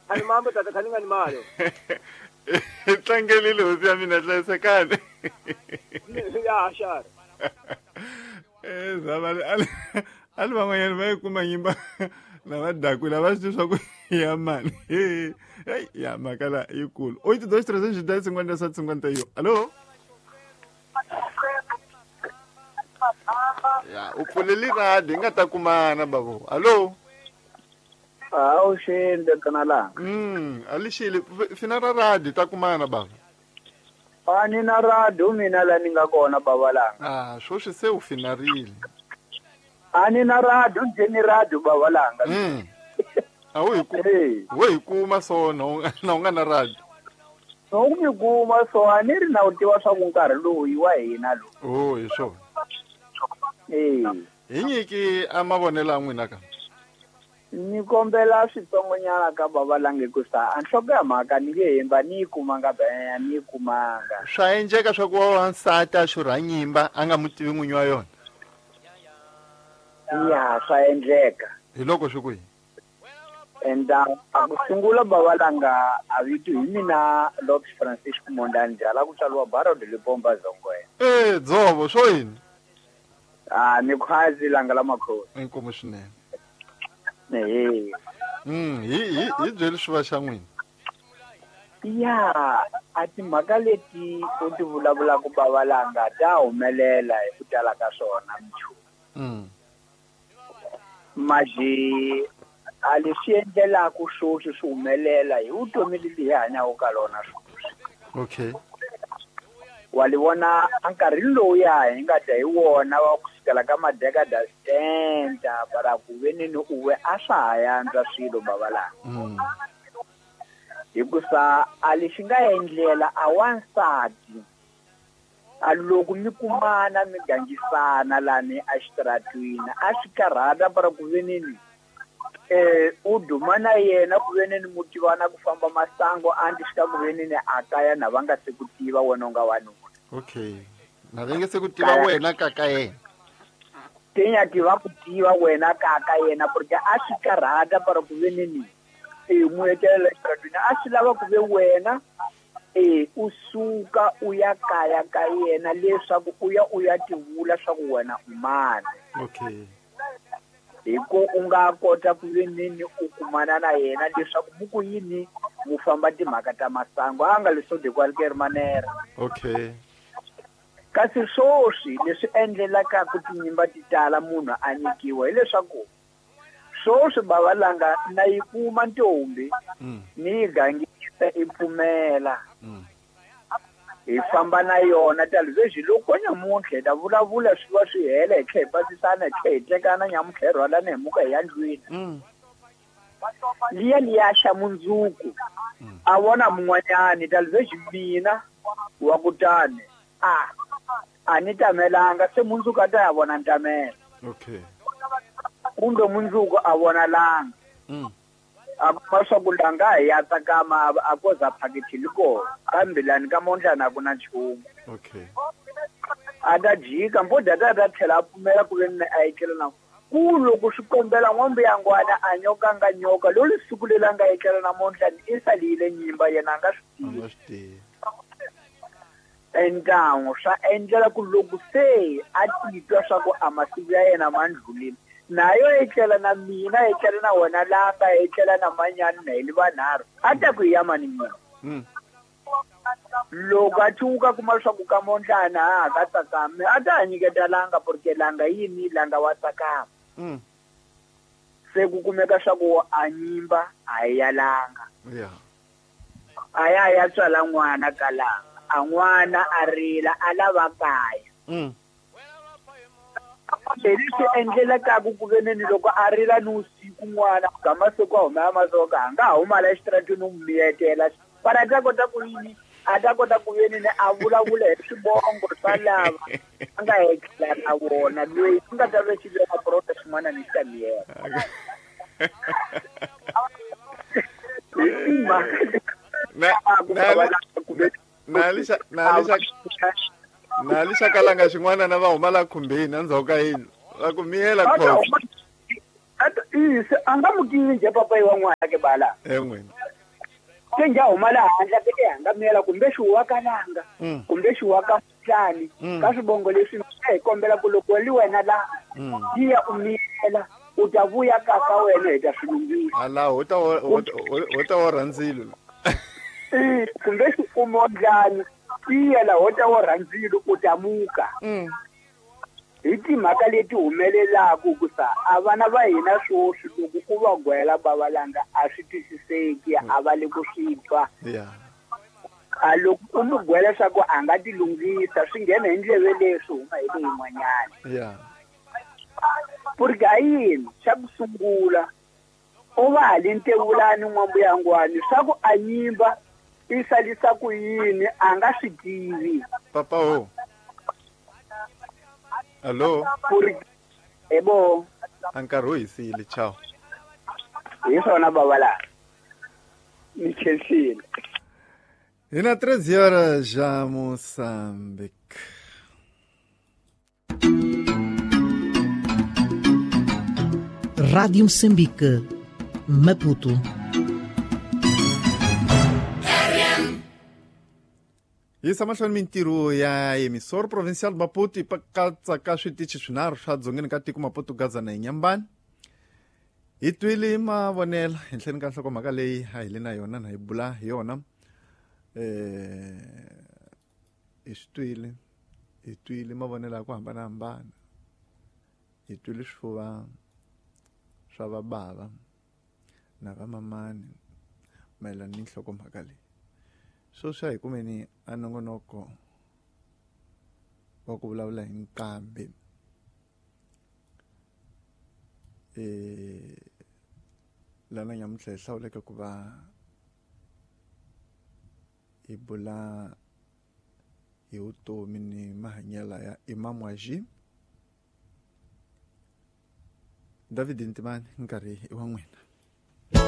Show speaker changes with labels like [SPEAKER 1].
[SPEAKER 1] Ani mambo tata khani nga ni mali.
[SPEAKER 2] Tlangelile hosi ya mina hlayisekani.
[SPEAKER 1] Ya xara.
[SPEAKER 2] Eh zava ali ali van'wanyana va yi kuma nyimba lava dakwile a va swi tivi swa ku ya mani. Hey ya mhaka la yikulu. 8 2 3 5 50 7 51. Allo? Ya u pfuleli radi hi nga ta kumana bavo. Allo?
[SPEAKER 3] Hawu xende kanalanga.
[SPEAKER 2] Alixile fina ra radi ta kumana bava.
[SPEAKER 3] Ani na radio mina la ni nga kona baba langa.
[SPEAKER 2] Ah, sweswi se u finarile.
[SPEAKER 3] Ani na radio nje ni radio baba langa.
[SPEAKER 2] A wu hi ku wo hi kuma so na u nga na radio.
[SPEAKER 3] No ku mi kuma so a ni ri na u tiva swa ku nkarhi lowu yi wa hina lowu.
[SPEAKER 2] Oh, hi swona.
[SPEAKER 3] Eh.
[SPEAKER 2] Hi nyiki a mavonelo ya n'wina ka.
[SPEAKER 3] Ni kombela switsongonyana ka baba lange ku sa a nhloko ya mhaka ni nge hemba ni yi kumanga benya ni yi kumanga.
[SPEAKER 2] Swa endleka swa ku wa wansati a xurha nyimba a nga mu tivi n'winyi wa yona.
[SPEAKER 3] Ya swa endleka.
[SPEAKER 2] Hi loko swi ku yini?
[SPEAKER 3] Enda a ku sungula baba langa a vito hi mina Lopes Francisco Mondani Jala ku tswariwa Barra de Lipomba Zongwe.
[SPEAKER 2] Eh dzovo swo yini?
[SPEAKER 3] Ah ni khwazi langa la makhosi.
[SPEAKER 2] Inkomu swinene.
[SPEAKER 3] Ehe.
[SPEAKER 2] Hi byeli swi va xa n'wina.
[SPEAKER 3] Ya a timhaka leti u ti vulavulaka baba langa ta humelela hi ku tala ka swona mchu. Maji a leswi endlelaka sweswi swi humelela hi vutomi lebyi hi hanyaka ka lona sweswi.
[SPEAKER 2] Okay.
[SPEAKER 3] Wa li vona a nkarhi lowuya hi nga dya hi wona wa ku sukela ka madekada 70 para ku veneni u we a swa ha yantswa swilo baba langa. Hikusa a lexi nga endlela a wansati a loko mi kumana mi gangisana lani a xitaratwini a swi karhata para ku veneni u duma na yena ku veneni mu tivana ku famba masango a ndzi xika ku veneni a kaya na va nga se ku tiva wena u nga wanuna.
[SPEAKER 2] Okay. Na va nge se ku tiva wena ka ka yena.
[SPEAKER 3] Tinya tiva ku tiva wena ka ka yena porque a swi karhata para ku veneni mu etlela xitaratwini a swi lava ku ve wena u suka u ya kaya ka yena leswaku u ya u ya tivula swa ku wena u mani.
[SPEAKER 2] Okay.
[SPEAKER 3] Hi ku u nga kota ku veneni u kumana na yena leswaku mu ku yini mu famba timhaka ta masangu a nga leswo de qualquer manera.
[SPEAKER 2] Okay.
[SPEAKER 3] Kasi sweswi leswi endlelaka ku tinyimba ti tala munhu a nyikiwa hileswaku sweswi bava langa na yi kuma ntombi ni yi gangisa i pfumela. Hi famba na yona talvez loko nyamuntlha hi ta vulavula swi va swi hela hi tlhela hi pasisana hi tlhela hi tekana nyamuntlha hi rhwalana hi muka hi ya ndlwini. Liya liya xa mundzuku a vona mun'wanyani talvez mina wa kutani a ni tamelanga se mundzuku a ta ya vona ntamela.
[SPEAKER 2] Okay.
[SPEAKER 3] Kumbe mundzuku a vona langa. A kuma swa ku langa hi ya tsakama a ko za phakiti liko kambe lani ka mondlana a ku na nchumu.
[SPEAKER 2] Okay.
[SPEAKER 3] A ta jika mbodha ta ta tlhela a pfumela ku ve ni a etlela na ku loko swi kombela n'wambu ya ngwana a nyoka nga nyoka lolu siku leri a nga etlela na mondlana i salile nyimba yena a nga swi tivi.
[SPEAKER 2] A nga swi tivi.
[SPEAKER 3] Endangu swa endlela ku loko se a titwa swa ku a masiku ya yena ma ndlulile nayo etlela na mina etlela na wena langa etlela na manyani na hi vanharhu a ta ku ya mani mina. Loko a cuka kuma leswaku ka mondlana a ka tsakami a ta nyiketa langa porque langa yini langa wa tsakama. Se ku kumeka swa ku a nyimba a ya langa.
[SPEAKER 2] Yeah.
[SPEAKER 3] A ya ya tswala n'wana ka langa a n'wana a rila a lava kaya. Leswi endlelaka ku veneni loko a rila ni usiku n'wana ga masiku a huma ya masoka a nga huma la exitarateni u miyetela para a ta kota ku yini a ta kota ku veneni a vulavula hi swivongo swa lava a nga etlela na vona loyi a nga ta ve xi veka prota xin'wana ni xi ta miyela.
[SPEAKER 2] Na lixa kalanga xin'wana na va huma la khumbeni endzhaku ka yindlu va ku miyela khosi.
[SPEAKER 3] A nga mu tivi njhe papayi wa n'wana ke bala.
[SPEAKER 2] N'wina.
[SPEAKER 3] Se nja huma laha handle ke hangamela kumbe xiwa ka langa kumbe xiwa ka mhlani ka swivongo leswi hi kombela ku loko li wena la yiya u miyela u ta vuya ka ka wena hi ta swi lunghisa
[SPEAKER 2] ala ho ta wo rhandzilo
[SPEAKER 3] kumbe xikumo ndlani tiyela ho ta wo rhandzilo u ta muka hi timhaka leti humelelaku ku sa a vana va hina swoswi loko ku va gwela bavalanga a swi twisiseki a va le ku swi twa a loko u mu gwela swa ku a nga ti lunghisa swi nghena hi ndleve leswi huma hi leyin'wanyana porque a yini xa ku sungula u va hali ntevulani n'wambuyangwani swa ku a nyimba i salisa ku yini a nga swi tivi
[SPEAKER 2] papa ho allo
[SPEAKER 3] ebo
[SPEAKER 2] a nkarhi wu hisile ciao
[SPEAKER 3] hi swona bava laha ni khensile
[SPEAKER 2] hi na 13 horas já Moçambique.
[SPEAKER 4] Rádio Moçambique, Maputo.
[SPEAKER 2] Yisa mahlweni mintirho ya emissor provincial Maputo yi katsa ka switichi swinharhu swa dzongeni ka tiko Maputo Gaza na Inhambane. Hi twile mavonelo henhleni ka nhlokomhaka leyi a hi le na yona na hi bula hi yona. Hi swi twile hi twile mavonelo ya ku hambanahambana. Hi twile swifuva swa vabava na vamamani mayelana ni nhlokomhaka leyi. Sweswi a hi kumeni a nongonoko wa ku vulavula hi nqambi lana nyamuntlha hi hlawuleke ku va hi bula hi vutomi ni mahanyelo ya Imam Waji David Ntimani nkarhi i wa n'wina.